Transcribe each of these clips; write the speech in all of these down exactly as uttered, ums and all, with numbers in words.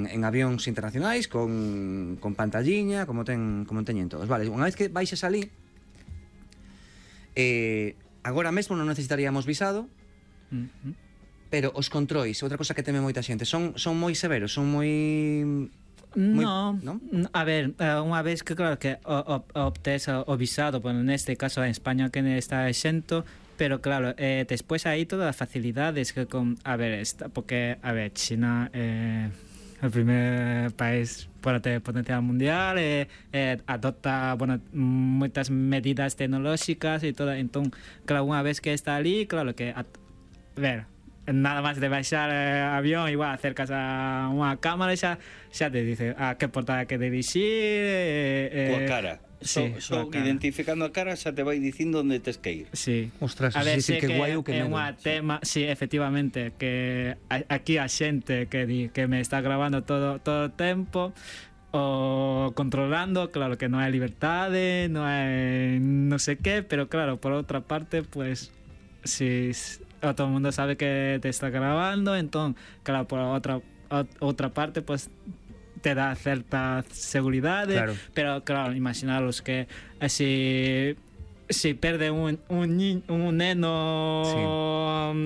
en avións internacionais con, con pantalliña, como ten como teñen todos. Vale, unha vez que baixes ali, eh, agora mesmo non necesitaríamos visado, uh-huh. Pero os controis, outra cosa que teme moita xente, son, son moi severos, son moi... Muy, no, ¿no? A ver, unha vez que claro que obtes o visado, bueno, neste caso en España que está exento, pero claro, eh, despois aí todas as facilidades que con, a ver, está, porque a ver, China é eh, o primer país para ter potencia mundial, eh, eh, adopta, bueno, moitas medidas tecnolóxicas e toda, entón, claro, unha vez que está ali, claro que a, a ver, nada máis de baixar eh, avión, igual acercas a unha cámara e xa, xa te dice a que portada que dirixir, eh, eh, coa cara. Sí, so, so identificando a cara xa te vai dicindo onde tes que ir. Sí. Ostras, a ver, sí, sí, que, que guai o que é unha tema, sí, efectivamente, que a, aquí a xente que di que me está grabando todo todo o tempo o controlando, claro que non hai liberdade, non hai non sei que, pero claro, por outra parte, pues si todo el mundo sabe que te está grabando, entonces, claro, por otra otra parte, pues te da cierta seguridad, claro. Pero claro, imaginaros que eh, si si perde un un, un neno sí.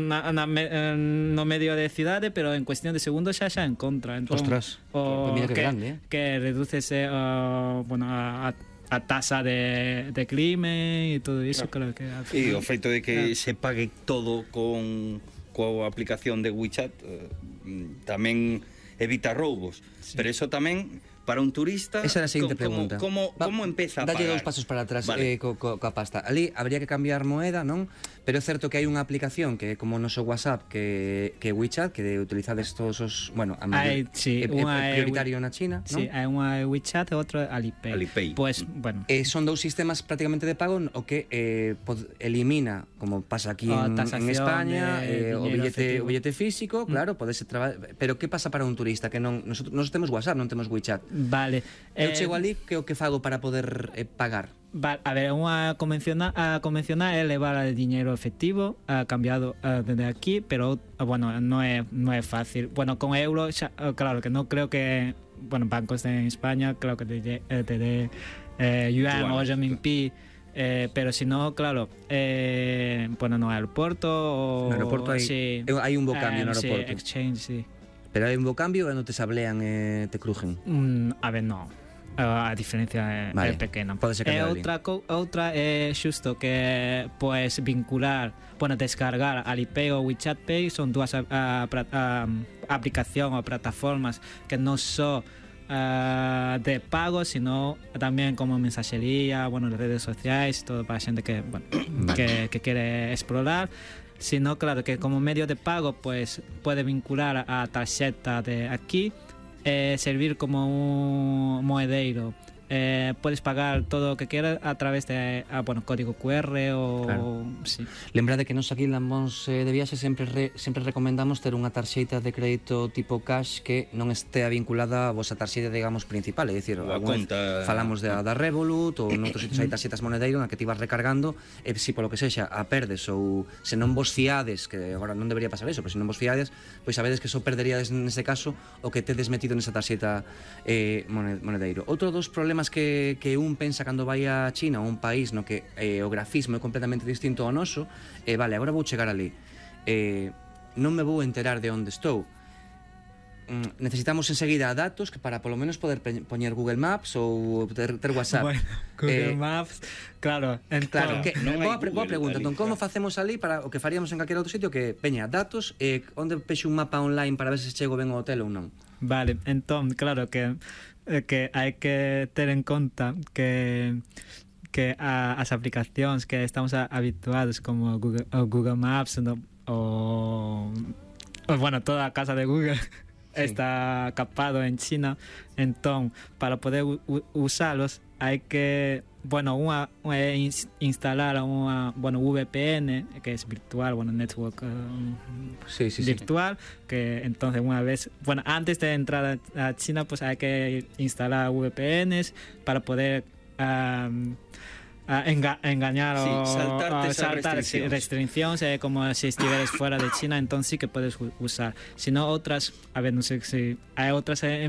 na, na, no medio de cidade, pero en cuestión de segundos xa xa en contra, entonces, ostras, o que, que, grande, eh? que reducese uh, bueno, a, a a tasa de, de crimen e todo iso, claro, claro que... E o feito de que claro. se pague todo con coa aplicación de WeChat eh, tamén evita roubos, sí. Pero eso tamén para un turista... Esa é a seguinte pregunta. Como, como, como empeza a pagar? Dalle dous pasos para atrás, vale. eh, co, co, coa pasta. Ali habría que cambiar moeda, non? Pero é certo que hai unha aplicación que é como o noso WhatsApp, que, que WeChat, que de utilizades todos os... Bueno, a mayor, hai, sí, é, é prioritario na China, non? Sí, hai unha WeChat e outra Alipay. Alipay. Pues, bueno... Eh, son dous sistemas prácticamente de pago o que eh, pod, elimina, como pasa aquí en, en España, eh, o, billete, o billete físico, claro, mm. podese traballar... Pero que pasa para un turista que non... Nosotros, nosotros temos WhatsApp, non temos WeChat. Vale. Eu eh, chego ali, que o que fago para poder eh, pagar? Vale, a ver, unha convencional, a convencional é levar el dinero efectivo, a cambiado a, desde aquí, pero bueno, non é non é fácil. Bueno, con euro, xa, claro que non creo que, bueno, bancos en España, claro que te te dé eh, yuan o renminbi. Eh, pero si no, claro, eh, bueno, no aeroporto o... No aeroporto hai, sí, hai un bo cambio eh, no aeroporto. Sí, exchange, sí. Pero hai un bo cambio e non te sablean e eh, te crujen? Mm, a ver, no. A diferencia é, vale. é pequena. Pode ser e outra, co, outra é xusto que pues vincular, bueno, descargar Alipay ou WeChat Pay, son dúas a, a, a, a aplicación ou plataformas que non só uh, de pago, sino tamén como mensaxería, bueno, redes sociais, todo para a xente que, bueno, vale. que, que quere explorar. Sino, claro, que como medio de pago, pues puede vincular a tarxeta de aquí, eh, servir como un moedeiro. Eh, puedes pagar todo o que quieras a través de ah, bueno, código cu erre ou claro. Sí. Lembrade que nos aquí en Lambóns de Viaxe sempre re, sempre recomendamos ter unha tarxeita de crédito tipo cash que non estea vinculada a vosa tarxeita, digamos, principal, é dicir, conta... falamos de, da Revolut ou noutros sitios hai tarxetas monedeiro na que ti vas recargando e se polo que sexa a perdes ou se non vos fiades, que agora non debería pasar eso, pero se non vos fiades, pois sabedes que só perderíades nese caso o que tedes metido nesa tarxeta eh, monedeiro. Outro dos problemas que, que un pensa cando vai a China ou un país no que eh, o grafismo é completamente distinto ao noso, eh, vale, agora vou chegar ali, eh, non me vou enterar de onde estou. Mm, necesitamos enseguida datos que para polo menos poder poñer Google Maps ou ter, ter WhatsApp. Bueno, Google eh, Maps, claro, claro, que, non boa, boa pregunta, entón, como facemos ali para o que faríamos en calquera outro sitio, que peña datos e eh, onde pexo un mapa online para ver se chego ben ao hotel ou non. Vale, entón, claro que que hai que ter en conta que que a, as aplicacións que estamos a, habituados como Google, o Google Maps no, o, o bueno, toda a casa de Google sí. está capado en China, entón para poder u, usalos hai que, bueno, unha, unha instalar unha, bueno, V P N, que es virtual, bueno, network um, sí, sí, virtual, sí. que entonces unha vez, bueno, antes de entrar a China, pues hay que instalar V P Ns para poder um, a enga engañar Sí, o saltarte o esas saltar restriccións. restriccións, eh, como si estuvieras fuera de China, entonces sí que puedes u- usar. Si no, otras, a ver, no sé si hay otras eh,